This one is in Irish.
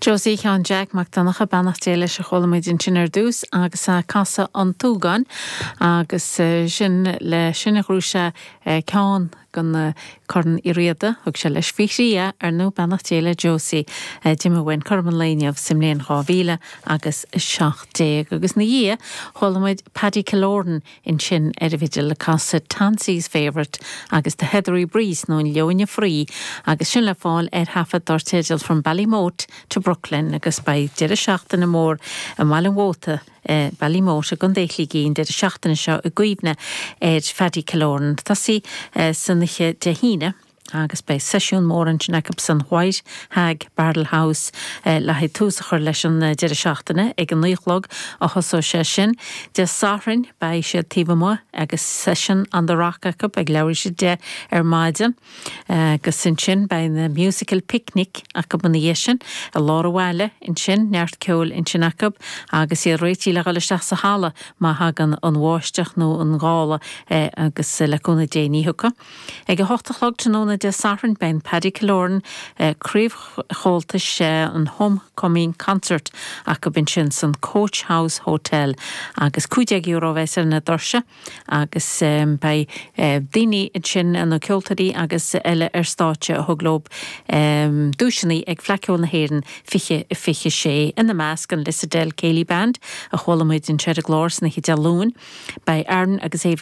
Josie Sheáin Jeaic Mac Donncha, beannacht Dé leis a chuala muid ansin ar dtús agus Casadh an tSúgáin agus sin le sin a ghnóthaigh sé ceann den Corn Uí Riada, thug sé leis faoi thrí é, ar ndóigh, beannacht Dé le Josie d'imigh uainn cothrom an lae inniu sa mbliain 2000 agus 17. Agus ina dhiaidh chuala muid Paddy Killoran ansin ar an bhfidil ag casadh Tansey's Favourite agus The Heathery Breeze nó an Leoithne Fraoigh agus sin le fáil ar thaifead dar teideal From Ballymote to Brooklyn agus beidh deireadh seachtaine mór i mBaile an Mhóta, Ballymote i gContae Shligigh an deireadh seachtaine seo i gcuimhne ar Phaddy Killoran. Tosaí san oíche Dé hAoine. agus beidh seisiún mór ansin acu san White Hag Barrel House le haghaidh tús a chur leis an deireadh seachtaine. Ag a naoi a chlog a thosóidh sé sin. Dé Sathairn beidh siad taobh amuigh agus session on the rock acu ag leathuair tar éis 10 ar maidin agus ansin beidh na musical picnic acu ina dhiaidh sin i lár an bhaile ansin, neart ceoil ansin acu agus iad réitithe le dhul isteach sa halla má thagann an bháisteach nó an gála agus le cúnamh Dé ní thiocfaidh. Ag 8 a chlog tráthnóna Dé Sathairn beidh an Paddy Killoran Craobh Chomhaltais an Home Coming Concert acu ansin san Coach House Hotel agus €15 a bheas ar na doirse agus beidh daoine ansin nó ceoltóirí agus eile ar stáitse a thug leo duaiseanna ag Fleadh Cheoil na hÉireann 2026 ina measc an Lissadell Céilí Band a chuala muid anseo ar an gclár san oíche Dé Luain. Beidh Aaron agus Ava.